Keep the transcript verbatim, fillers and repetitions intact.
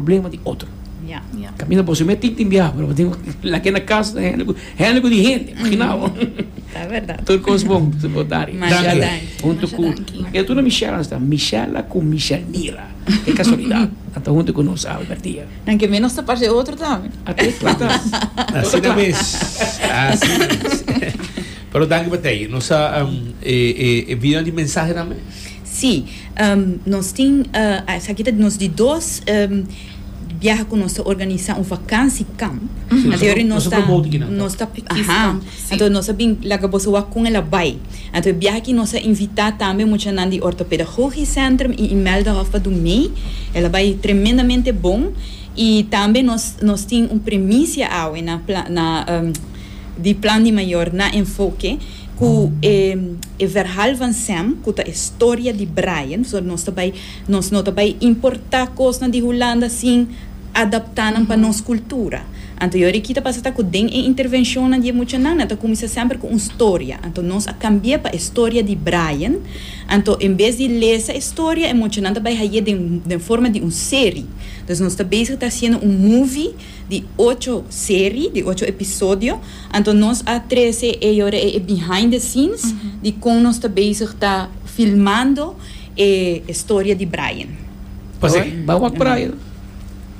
Problema di otro. Ja. Ja. Kaminda bo mes tin tin biaha, pero tin lag'é na kas, hende ku di hende, imaginá. Ta berdat. Tur kos bon, bo dari. Masha Michelle, danki. huntu Masha ku danki. E tu na Michelle sta, Michelle ku Michelle Mira. Ke kasualidat. Anto huntu ku nos Albertia. Danki, menos ta parse otro tambe. Ate klata. Asina mes. Asina mes. Pero danki pa tei. Nos a um, e, e, e video di mensahe tambe? Si, um, nos tin, uh, aki ta nos di dos um, biaha ku nos organisá un vakantiekamp. Si, Anto, nos nos nos ta promote aki, no? Nos ta Kids aha. camp, si. Anto nos bin laga boso wak kon el a bai. Anto biaha aki nos a invitá tambe muchanan di Orthopedagogisch Centrum i Imeldahof pa duna mee. El a bai tremendamente bon. I tambe nos nos tin un primisia awe na pla, na um, di Plan di Mayor na Enfoke ku eh, e verhaal van Sam, ku ta e storia di Brian, so nos tambe nos no tambe importá kos di Hulanda sin adaptá nan pa nos kultura. Anto, awor aki ta pasa ku den e intervenshon di muchanan, ta kuminsá semper ku un storia. Anto, nos a kambia pa e storia di Brian. Anto, en bes di lesa e storia, e muchanan tambe hay'é den, den forma di un serie. Anto, nos ta bezig ta hasiendo un movie di ocho serie, di ocho episodio. Anto, nos a trese e e behind the scenes di kon nos ta bezig ta filmando e storia di Brian. Pase. Bai wak Brian.